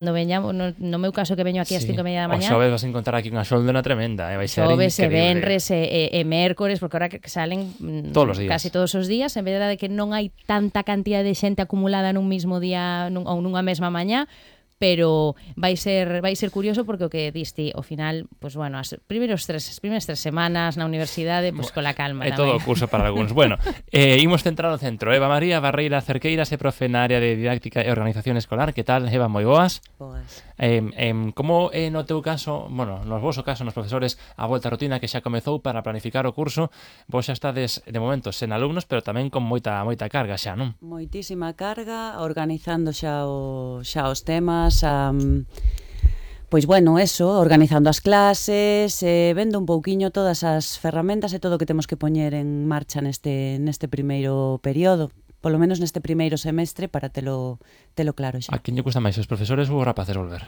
cando veñamos, no meu caso que veño aquí ás 5:30 da O mañá, xoves vas a encontrar aquí unha xoldona tremenda, vai ser xoves e increíble. venres e mércores, porque ahora que salen Todos os días. casi todos os días, en vez de que non hai tanta cantidad de xente acumulada nun mismo día ou nunha mesma mañá, pero vai ser curioso porque o que diste, ao final, pues bueno, as primeiras tres semanas na universidade, pues cola calma É tamén. todo o curso para algúns. Bueno, imos centrar o centro. Eva María Barreira Cerqueiras é profe na área de didáctica e organización escolar. Que tal, Eva? Moi boas. Boas. Como no teu caso, bueno, no voso caso, nos profesores, a volta á rutina que xa comezou para planificar o curso, vos xa estades de momento sen alumnos, pero tamén con moita carga xa, non? Moitísima carga, organizando xa os temas, pois bueno, eso, organizando as clases, vendo un pouquiño todas as ferramentas e todo o que temos que poñer en marcha neste primeiro período, polo menos neste primeiro semestre, para telo claro xa. A quen lle custa máis, os profesores ou os rapaces volver?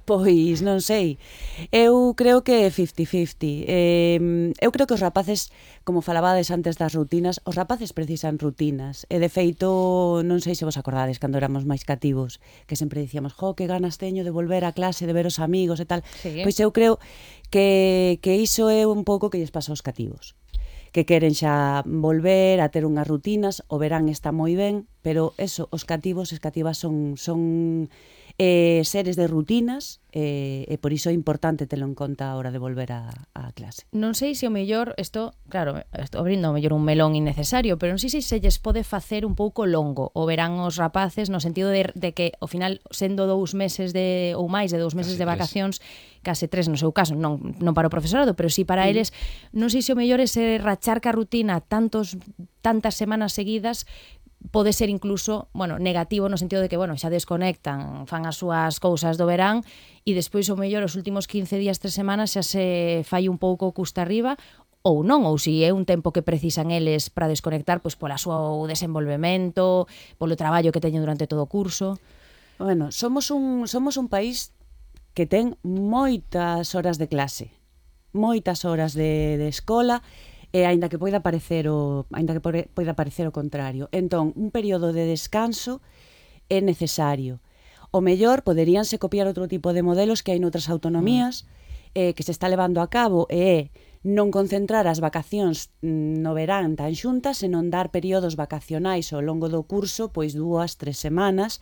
Pois non sei. Eu creo que é 50-50. Eu creo que os rapaces, como falabades antes das rutinas, os rapaces precisan rutinas. E de feito, non sei se vos acordades cando éramos máis cativos, que sempre dicíamos, que ganas teño de volver á clase, de ver os amigos e tal. Sí. Pois eu creo que iso é un pouco que lles pasa aos cativos, que queren xa volver a ter unhas rutinas. O verán está moi ben, pero eso, os cativos e cativas son seres de rutinas, e por iso é importante telo en conta a hora de volver á clase. Non sei se o mellor, claro, estou abrindo o mellor un melón innecesario, pero non sei se lles pode facer un pouco longo o verán os rapaces, no sentido de que ao final, sendo 2 meses ou máis de 2 meses de vacacións, case 3 no seu caso, non para o profesorado, pero sí para eles, non sei se o mellor é se rachar ca rutina tantas semanas seguidas, pode ser incluso, negativo no sentido de que, xa desconectan, fan as súas cousas do verán e despois o mellor os últimos 15 días, 3 semanas xa se fai un pouco custa arriba, ou non, ou se é un tempo que precisan eles para desconectar, pois pola súa desenvolvemento, polo traballo que teñen durante todo o curso. Bueno, somos un país que ten moitas horas de clase, moitas horas de escola, e aínda que poida parecer o contrario. Entón, un período de descanso é necesario. O mellor poderíanse copiar outro tipo de modelos que hai noutras autonomías, que se está levando a cabo, e é non concentrar as vacacións no verán tan xuntas, senón dar períodos vacacionais ao longo do curso, pois 2-3 semanas,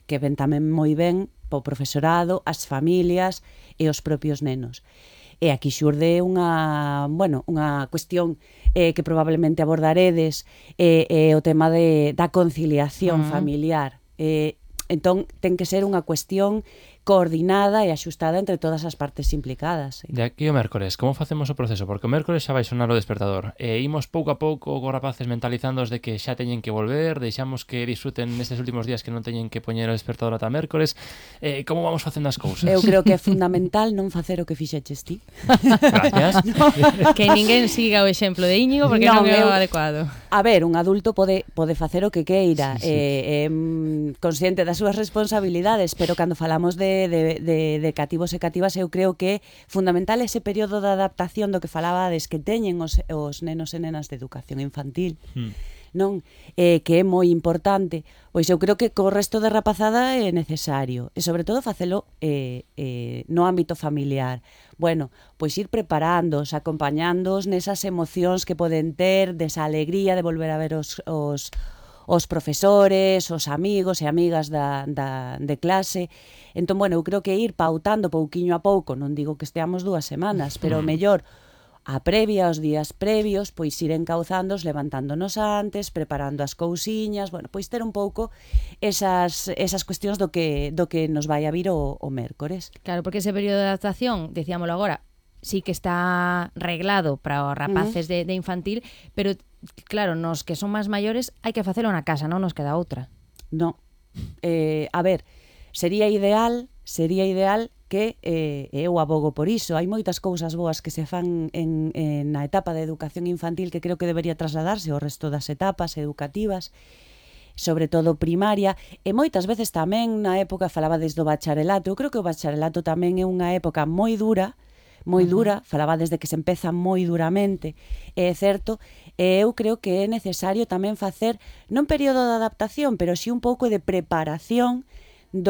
que ven tamén moi ben po profesorado, as familias e os propios nenos. E aquí xurde unha cuestión que probablemente abordaredes, o tema da conciliación familiar. Entón, ten que ser unha cuestión coordinada e axustada entre todas as partes implicadas. De aquí o mércores, como facemos o proceso? Porque o mércores xa vai sonar o despertador. Imos pouco a pouco cos rapaces mentalizándoos de que xa teñen que volver, deixamos que disfruten nestes últimos días que non teñen que poñer o despertador ata mércores. Como vamos facendo as cousas? Eu creo que é fundamental non facer o que fixeches ti. Gracias. Que ninguén siga o exemplo de Íñigo, porque non é o adecuado. A ver, un adulto pode facer o que queira, consciente das súas responsabilidades, pero cando falamos de cativos e cativas, eu creo que é fundamental ese período de adaptación do que falabades que teñen os nenos e nenas de educación infantil, non? Que é moi importante. Pois eu creo que co resto de rapazada é necesario, e sobre todo facelo no ámbito familiar. Bueno, pois ir preparándoos, acompañándoos nesas emocións que poden ter, desa alegría de volver a ver os profesores, os amigos e amigas de clase. Entón, eu creo que ir pautando pouquiño a pouco, non digo que esteamos 2 semanas, pero mellor a previa, os días previos, pois ir encauzándoos, levantándonos antes, preparando as cousiñas, pois ter un pouco esas cuestións do que nos vai a vir o mércores. Claro, porque ese período de adaptación, dicíamolo agora, sí que está reglado para os rapaces de infantil, pero claro, nos que son máis maiores hai que facelo na casa, non nos queda outra. Non. A ver, sería ideal que eu abogo por iso. Hai moitas cousas boas que se fan na etapa de educación infantil que creo que debería trasladarse ao resto das etapas educativas, sobre todo primaria, e moitas veces tamén na época falaba desde o bacharelato. Eu creo que o bacharelato tamén é unha época moi dura, falaba desde que se empeza moi duramente, é certo, e eu creo que é necesario tamén facer non período de adaptación, pero sí un pouco de preparación